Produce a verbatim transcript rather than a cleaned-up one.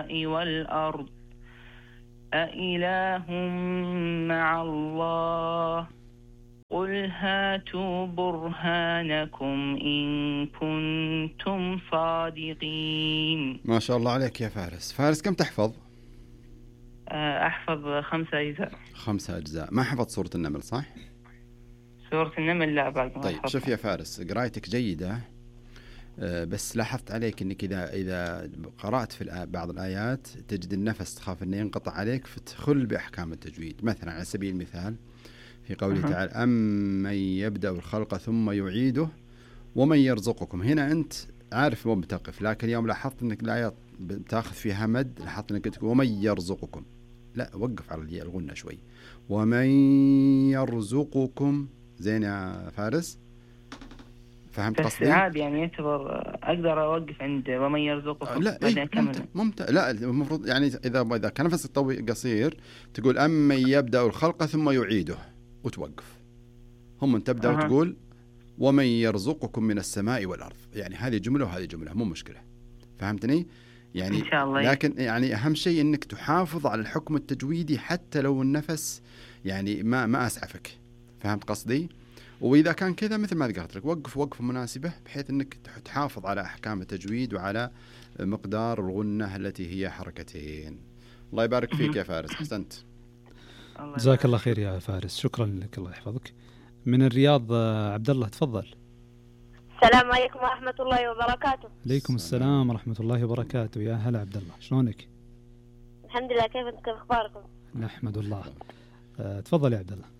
السماء والأرض أإله مع الله قل هاتوا برهانكم إن كنتم صادقين. ما شاء الله عليك يا فارس. فارس كم تحفظ؟ أحفظ خمسة أجزاء. خمسة أجزاء. ما حفظ سورة النمل صح؟ سورة النمل لا بعد ما طيب أحفظها. شوف يا فارس، قرايتك جيدة، بس لاحظت عليك انك اذا اذا قرأت في بعض الآيات تجد النفس تخاف انه ينقطع عليك فتخل بأحكام التجويد. مثلا على سبيل المثال في قوله أه. تعالى أمن يبدأ الخلق ثم يعيده ومن يرزقكم، هنا أنت عارف وين بتقف، لكن يوم لاحظت انك الآيات بتاخذ فيها مد لاحظت انك تقول ومن يرزقكم، لا وقف على الغنة شوي. ومن يرزقكم زين يا فارس؟ فهمت قصدي؟ بس عادي يعني يعتبر أقدر أوقف عند ومن يرزقكم. لا إيه ممتع ممتع. لا المفروض يعني إذا إذا كان نفسك طويل قصير تقول أمن يبدأ الخلق ثم يعيده وتوقف. هم أن تبدأ أه. وتقول ومن يرزقكم من السماء والأرض، يعني هذه جملة وهذه جملة مو مشكلة. فهمتني؟ يعني إن شاء الله. لكن يعني أهم شيء إنك تحافظ على الحكم التجويدي حتى لو النفس يعني ما ما أسعفك. فهمت قصدي؟ وإذا كان كذا مثل ما ذكرت لك وقف وقفة مناسبة بحيث أنك تحافظ على أحكام التجويد وعلى مقدار الغنة التي هي حركتين. الله يبارك فيك يا فارس، أحسنت. جزاك الله خير يا فارس، شكرا لك، الله يحفظك. من الرياض عبد الله تفضل. السلام عليكم ورحمة الله وبركاته. عليكم السلام ورحمة الله وبركاته. يا هلا عبد الله، شلونك؟ الحمد لله، كيف انت، كيف اخباركم؟ نحمد الله. أه تفضل يا عبد الله.